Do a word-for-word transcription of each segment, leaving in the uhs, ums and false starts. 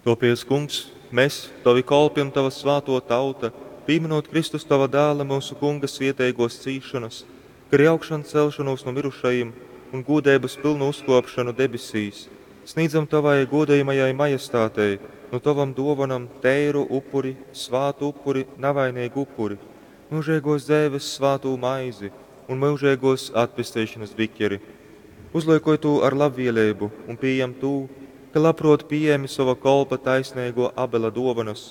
Tōpēc, Kungs, mes, tovi kolpi un tova svātō tauta, pīmynūt Kristus tova Dāla, myusu Kunga svieteigōs cīšonas, kai ari augšancelšonūs nu myrušajim un gūdeibas pylnu uzkōpšonu debesīs, snīdzam tovai gūdojamajai majestātei nu tovom dōvonom teiru upuri, svātu upuri, navaineigu upuri, myužeigōs dzeives svātū maizi un myužeigōs atpesteišonas bikeri. Uzlyukoj tū ar labvieleibu un pījem tū, ka labprōt pījēmi sova kolpa taisneigō Abela dōvonas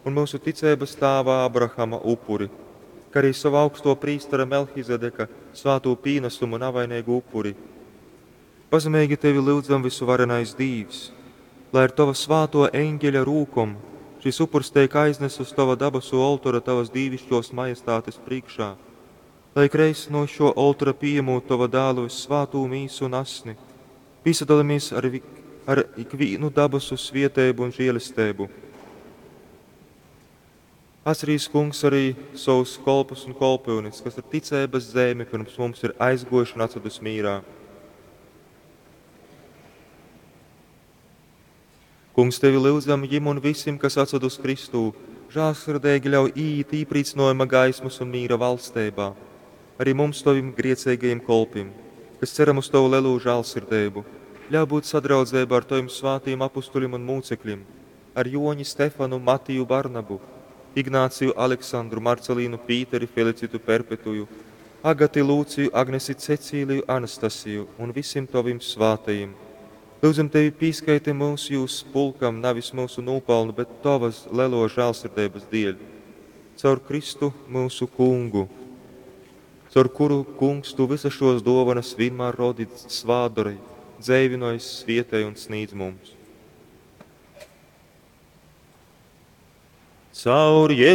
un myusu ticeibas tāva Abrahama upuri, kai ari sova augstō prīstera Melchizedeka svātū pīnasumu navaineigu upuri. Pazemeigi tevi lyudzam, vysuvarenais Dīvs, lai ar tova svātō eņgeļa rūkom šys upurs teik aiznasts uz tova dabasu oltora tavas dīviškōs majestātes prīškā, lai ikreiz, nu šō oltora pījamūt tova Dāla vyssvātū mīsu un asni, pīsadolamies ar, ar ikvīnu dabasu svieteibu un žēlesteibu. Atcerīs, Kungs, arī savus kolpus un kolpyunes, kas ar ticeibas zeimi pirms mums ir aizguojuši un atsvadus mīrā. Kungs, tevi lyudzam jim un visim, kas atsvadus Kristū, žālsirdeigi ļauj īīt īprīcynojuma gaismas un mīra valsteibā. Arī mums, tovim grieceigajim kolpim, kas ceram uz tovu lelū žālsirdeibu, ļauj būt sadraudzeibā ar tovim svātīm apustuļim un mūcekļim, ar Joņi, Stefanu, Matiju, Barnabu, Ignāciju, Aleksandru, Marcelīnu, Pīteri, Felicitu, Perpetuju, Agati, Lūciju, Agnesi, Cecīliju, Anastasiju un visim tovim svātajim. Lūdzam tevi pīskaiti mūs jūs pulkam, navis mūsu nūpelnu, bet tovas lelo žēlsirdeibas dēļ. Caur Kristu mūsu kungu, caur kuru, kungs, tu visas šos dovanas vienmēr rodi svātdori, dzeivinoj, svietej un snīdz mums. Caur Jezu